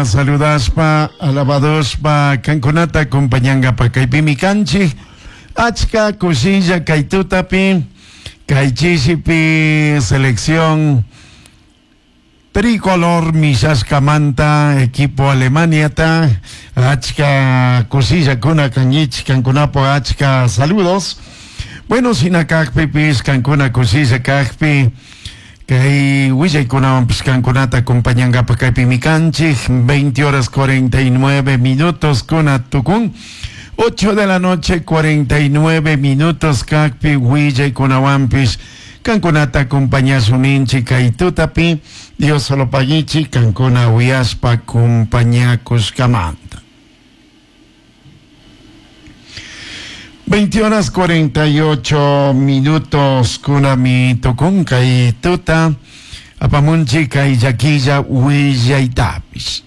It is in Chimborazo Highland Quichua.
Saludashpa, alabadoshpa, kankunata acompañangapa kaypimi kanchik. Achka kushilla kay tutapi, kay chishipi selección tricolor mishashkamanta equipo Alemaniata achka kushillakuna kankichik kankunapak achka saludos. Bueno, shina kakpipish kankuna kushilla kakpi Kay willaykunawanpish kankunata acompañankapak kaypimi kanchik, 20 horas 49 minutos kuna tukun, 8 de la noche 49 minutos kakpi willaykunawanpish kankunata acompañashun ninchik kay tutapi, Dios solo paguichik kankuna uyashpa acompañakushkamanta. 20 horas 48 minutos kunami tukun kay tuta apamunchik kay llaquilla willaytapish.